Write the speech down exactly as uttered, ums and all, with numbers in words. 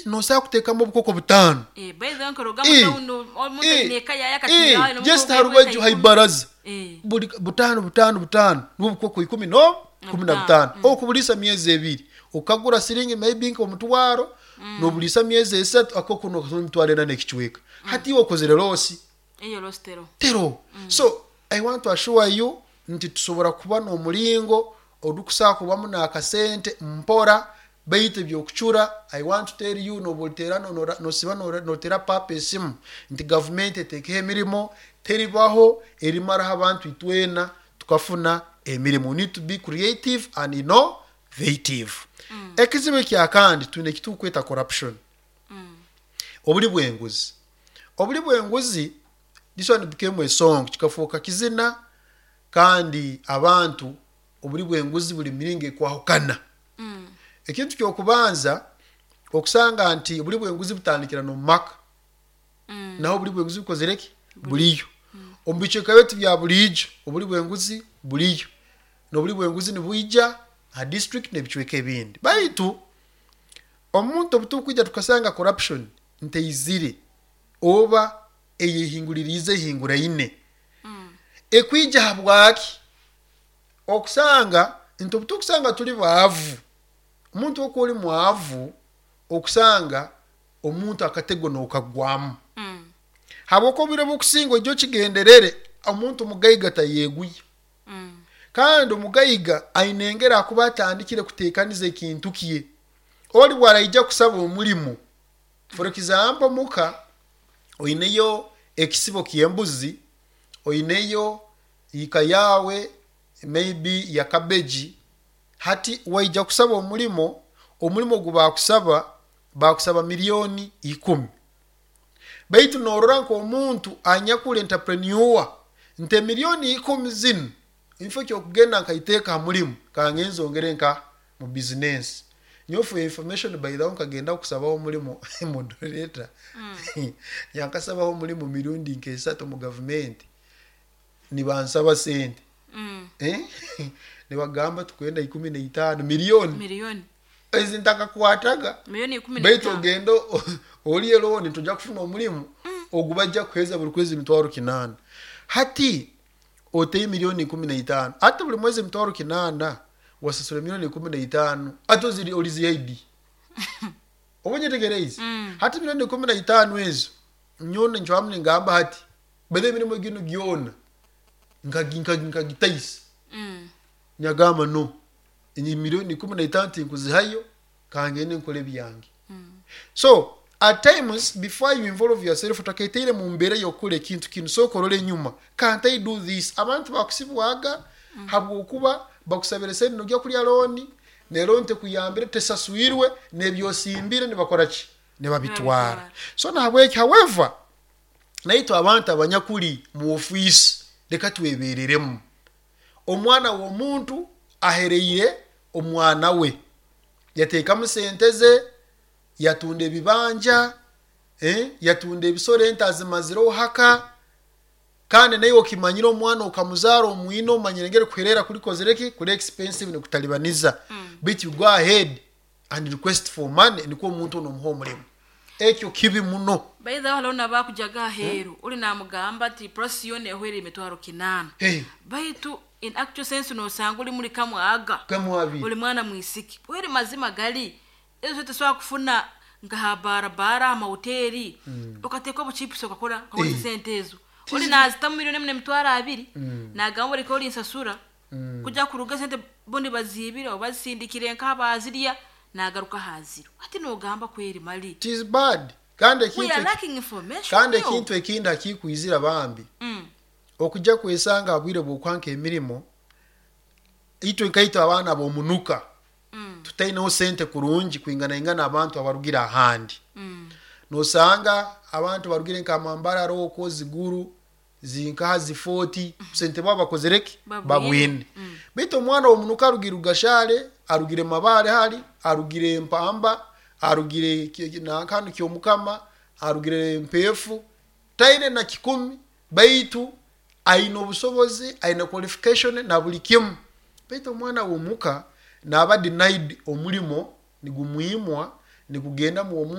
Nosobola kuteekamu obukoko butaano. Eh, by the way, nkoroga Eh, mu town omuntu eh, aine eka yaye eh, akatira just harubaju haibaraza, Eh. buli butaano, butaano, butaano, nibwo bukoko ikumi no kumi na butaano. butaano. Okubuliisa myezi ebiri, okagura siringi maybe nk'omutwaro, nobuliisa myezi esatu, akoko nokasoma emitwaro ena n'ekicweka. Hati iwe okozere loss? Eyo loss tero. Tero. So I want to assure you nti tusobora kuba n'omulingo odukusaa kubamu n'akasente mpora, baitu ebyokucura, I want to tell you, noba nosiba notera papa esimu nti gavumenti etekeho emirimo, teribaho erimaraho abantu. Itwena tukafuna emirimu. We need to be creative and innovative. Ekizibu ekyakandi twine ekitukweta corruption, obuli bwenguzi. Obuli bwenguzi, this one became a song, kikafuuka kizina. Kandi abantu, obuli bwenguzi buli miringo ekwahukana. Ekintu kyokubanza, okusanga nti obuli bwenguzi butandikira nomu maka. Naho obuli bwenguzi bukozere ki? Buliyo omu bicweka byetu bya buliijo. Obuli bwenguzi buliyo, nobuli bwenguzi nibwija ha district n'ebicweka ebindi. Baitu omuntu obutukwija tukasanga corruption nteizire oba eyehinguliriize ehinguraine, ekwija habwaki? Okusanga nti obutukusanga tuli baavu, omuntu oku oli mwavu, okusanga omuntu akatego nokagwamu, habwokuba obwire bwokusinga ojja okigenderere, omuntu mugaiga tayeeguya. Kandi omugaiga aine engeri akuba atandikire kuteekaniza ekintu kye. Oli bwaraija kusaba omulimu, for example, muka oineyo ekisibo ky'embuzi, oineyo ika yawe maybe ya cabbage, hati waija kusaba omulimo. Omulimo ogu bakusaba bakusaba miliyoni ikumi, baitu norora nk'omuntu anyakuli entrepreneur nti emiliyoni ikumi zinu, nfo kyokugenda nkaiteeka ha mulimu, kangenze ongere nka mu business. Nyowe, for information, by the way, nkagenda kusabaho omulimu, moderator, yankasabaho omulimu mirundi nk'esatu mu gavumenti. Nibansaba sente, eh? Nibagamba tukwenda ikumi naitaano miliyoni. Miliyoni. Ezi ntakakwataga. Miliyoni ikumi Baitu n'etaano. Ogenda o- oliye loan, tojja kufuna omulimu ogu bajja kuheza buli kwezi emitwaro kinaana. Hati oteye miliyoni ikumi naitaano, ate buli mwezi emitwaro kinaana, wasasula miliyoni ikumi naitaano, ate oziri olizihaidi oba nyetegereize? Hati miliyoni ikumi naitaano ezo, nyona ncwamu ningamba hati bethe emirimu gino gyona nkagi- nkagi- nkagitaisa. Mm. Nyagamba no, enyi miliyoni ikumi naitaano tinkuzihayo, kangende nkole ebyange. So at times, before you involve yourself, otakaiteire mu mbeera y'okukora ekintu kinu, sooka orole enyuma: can't I do this? Abantu bakusibwaga habwokuba bakusabire sente, nojya kulya loan, ne loan tekuyambire, tesaswirwe, nebyosimbire nibakora ki? Nibabitwara. Nibabitwara. So nahabweki, however, naitwe abantu abanyakuli mu ofiisi, leka twebereremu. Omwana w'omuntu ahereire omwana we, yateekamu sente ze, yatunda ebibanja, eh, yatunda ebisoro, ente azimazireho haka. Kandi naye okimanyire omwana okamuzaara omwine, omanyire engeri kuherera kulikozere ki? Kuli expensive, nikutalibaniza. But you go ahead and request for money, nikwo omuntu onomuha omulimu. Ekyo kibi muno. By the way, haliho nabakujaga aheeru, uli namugamba ati process yona ehwere emitwaro kinaana. Hey. Baitu in actual sense nosanga uli muli kamwaga. Kamwabiri. Uli mwana mwisiki weri mazima gali ezo tesobola kufuna nka ha barabara, amahoteri, ukateeka obuchipusi, okakora ukakozesa Eh. sente ezo. Uli nazitamu miliyoni emu n'emitwaro abiri, nagamba oleka oli nsasura kujja kuruga sente bundi bazibire oba bazisindikire nk'abazirya, nagaruka haziro. Ati nogamba kweri mali. It is bad. Kandi We ekintu are lacking information. Kandi yo. ekintu ekindi akikwizira bambi, Mm. okujja kwesanga abwire bwokwanka emirimo, itwe nkaitwe abaana b'omunuka, Mm. tutaineho sente kurungi kwinganaingana abantu abarugire ahandi. Mm. Nosanga abantu barugire nka Mambarara okwo ziguru zinkaha zifoti, sente baba bakozereki? Babwine. Babwine. Baitu omwana womunuka arugire Rugashare, arugire Mabare, hali arugire Mpamba, arugire ki- nankanu Kyomukama, arugire Mpefu, taine na kikumi, baitu aine obusobozi, aine qualification na buli kimu. Baitu omwana womuka naba denied omulimo, nigumwimwa, nigugenda mu omuntu.